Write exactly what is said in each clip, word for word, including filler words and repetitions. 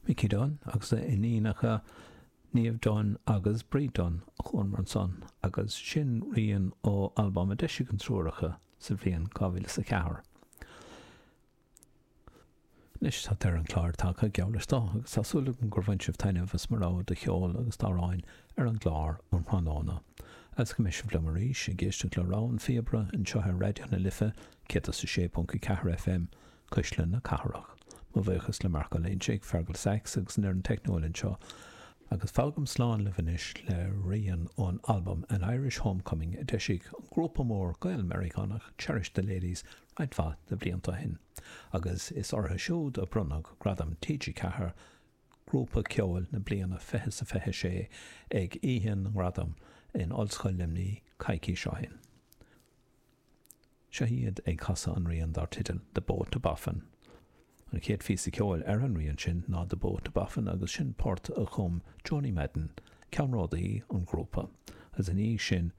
Mickey Dunne agus a iníonacha Niamh Dunne agus Bríd Dunne a chualamar ansan agus sin rian ó albam a d'eisigh an triúr acu sa bhliain dhá mhíle is a ceathair. Anois tá deireadh an chláir tagtha, geall leis dó, agus tá súil agam gur bhain sibh taitneamh as mo rogha de cheol agus d'amhráin ar an gclár um thráthnóna. Agus go mbeidh sibh liom arís ag éisteacht le Rogha an Phíobaire anseo ar Raidió na Life céad is a sé ponc a ceathair FM, Cuisle na Cathrach. Mo bhuíochas le Marc Ó Loinsigh, Fergal Sachs agus an fhoireann teicniúil anseo, agus fágaim slán libh anois le rian ón albam An Irish Homecoming a d'eisigh an grúpa mór Gael-Meiriceánach Cherish the Ladies roinnt mhaith de bhlianta ó shin, agus is orthu siúd a bronnadh Gradam T G ceathair Grúpa Ceoil na Bliana fiche is a fiche sé ag Oíche na nGradam in Ollscoil Luimnigh coicís ó shin. Seo iad ag casadh an rian dar teideal The Boat to Boffin. An chéad phíosa ceoil ar an rian sin ná The Boat to Boffin agus sin port a chum Joanie Madden, ceannródaí an ghrúpa, agus ina dhiaidh sin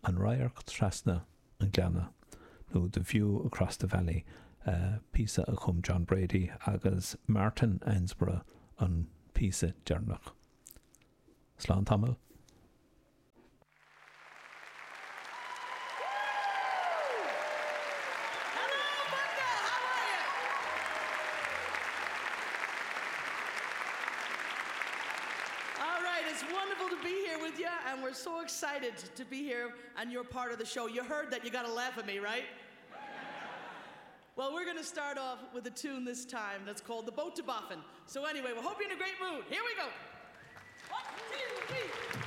An Radharc Trasna an Ghleanna nó The View Across the Valley, píosa a chum John Brady agus Martin Ansborough an píosa deireanach. Slán tamall. All right, it's wonderful to be here with you, and we're so excited to be here and you're part of the show. You heard that, you gotta laugh at me, right? Well, we're gonna start off with a tune this time that's called The Boat to Boffin. So anyway, we hope you're in a great mood. Here we go. One, two, three.